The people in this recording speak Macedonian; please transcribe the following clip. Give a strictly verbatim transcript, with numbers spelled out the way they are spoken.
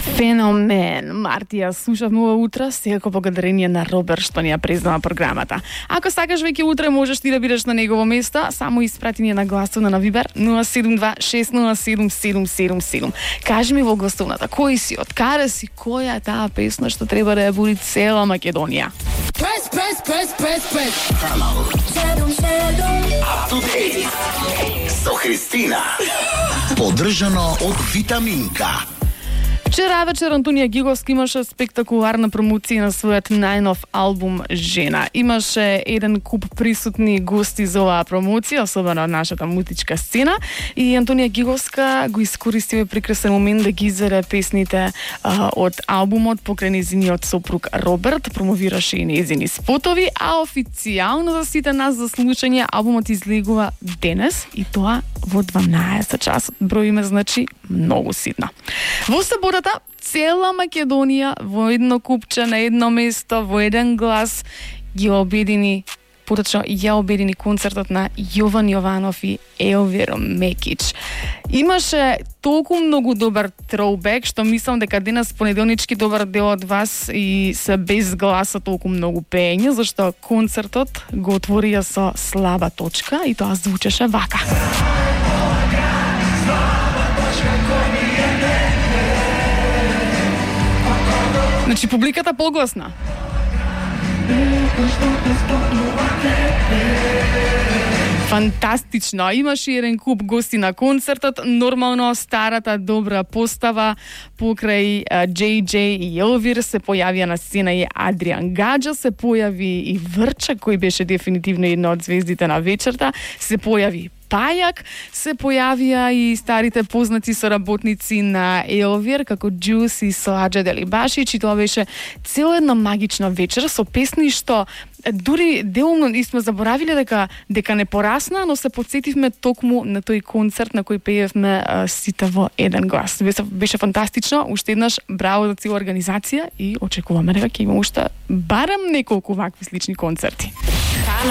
Феномен. Мартија слушавме ова утро, секако благодарение на Роберт што ни ја признава програмата. Ако сакаш веќе утре можеш ти да бидеш на негово место, само испрати ни на гласовна на Вибер нула седум два шест нула седум седум седум седум. Кажи ми во гласовната кој си, од каде си, која е таа песна што треба да ја буди цела Македонија. Press, press, press, press, press. Up to date со Христина. Поддржано од Витаминка. Вчера вечер Антонија Гиговска имаше спектакуларна промоција на својот најнов албум Жена. Имаше еден куп присутни гости за оваа промоција, особено од нашата музичка сцена, и Антонија Гиговска го искористи овој прекрасен момент да ги изере песните а, од албумот покрај нејзиниот сопруг Роберт, промовираше и нејзини спотови, а официјално за сите нас за слушање албумот излегува денес и тоа во дванаесет часот. Број име значи многу ситно. Во саботата цела Македонија во едно купче на едно место, во еден глас ги обедини, поточно ја обедини концертот на Јован Јованов и Елвир Мекич. Имаше толку многу добар троубек, што мислам дека денес понеделнички добар дел од вас и се без гласа толку многу пеење, зашто концертот го отворија со слаба точка и тоа звучеше вака. Значи, публиката погласна. Фантастично. Имаше еден куп гости на концертот. Нормално старата добра постава покрај Джей Джей и Елвир се појавија на сцена и Адриан Гаджа, се појави и Врча, кој беше дефинитивно една од звездите на вечерта, се појави Пајак, се појавија и старите познати соработници на Елвир, како Джус и Сладжа Делибашич, и тоа беше цела една магична вечер со песни што дури делумно и сме заборавиле дека дека не порасна, но се потсетивме токму на тој концерт на кој пеевме а, сите во еден глас. Беше, беше фантастично, уште еднаш браво за цела организација и очекуваме дека ќе има уште барем неколку вакви слични концерти.